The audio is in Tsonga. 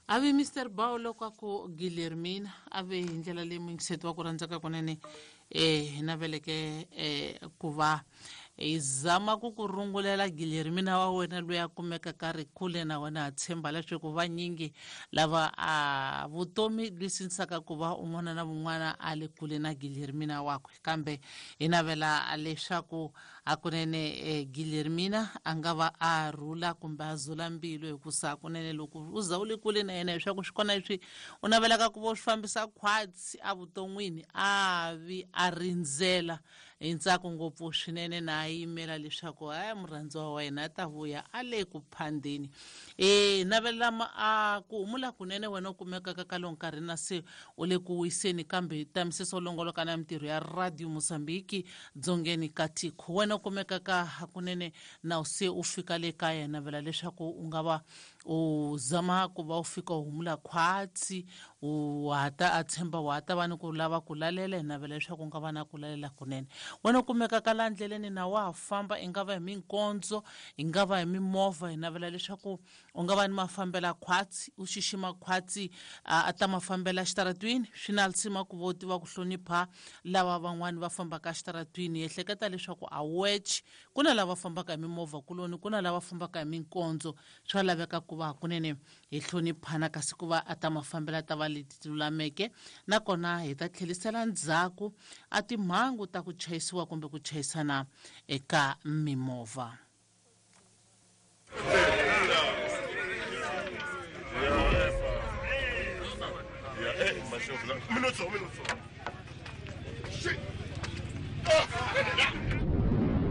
Avi Mr Bao loko a ku Guilhermina a ve hi ndlela leyi muyingiseti wa ku rhandzaka kunene hi naveleke ku va hi zama ku ku rungulela Guilhermina wa wena loyi a kumekaka ri kule na wena. Ha tshemba leswaku vanyingi lava a vutomi lwisinisaka ku va un'wana na un'wana a le kule na Guilhermina wakwe, kambe hi navela leswaku hakunene Guilhermina a nga va a rhula kumbe a zula mbilu, hikusa hakunene loko u za u le kule na yena leswaku swi kona leswi u navelaka ku va u swi fambisa khwatsi evuton'wini, a vi a rindzela hi ntsako ngopfu swinene na a yimela leswaku haya murhandziwa wa yena a ta vuya a le ku phandeni. Navelela a ku humula kunene wena u kumekaka ka lowu nkarhi na se u le ku wiseni, kambe tamisisa u longoloka na mintirho ya Radio Mozambique dzongeni ka tiko. Wena u kumekaka hakunene na u se u fika le kaya, navela leswaku u nga va u zama ku va u fika u humula khwatsi, u hata a tshemba wa ta va ni ku lava ku lalela, hi navela leswaku u nga va na ku lalela kunene. Wena u kumekaka laha ndleleni na wa ha famba, i nga va hi minkondzo, i nga va hi mimovha, hi navela leswaku u nga va ni mafambela khwatsi, u xixima khwatsi a ta mafambela xitaratwini. Swi na lisima ku va u tiva ku hlonipha lava van'wani va fambaka xitaratwini. Hi ehleketa leswaku a weche, ku na lava fambaka hi mimovha kuloni, ku na lava fambaka hi minkondzo. Swa laveka ku va hakunene hi hloniphana, kasi ku va a ta mafambela ta va leti lulameke, nakona hi ta tlherisela ndzhaku a timhangu ta ku chayisiwa kumbe ku chayisana eka mimovha. Minuto, minuto. Shit. Oh.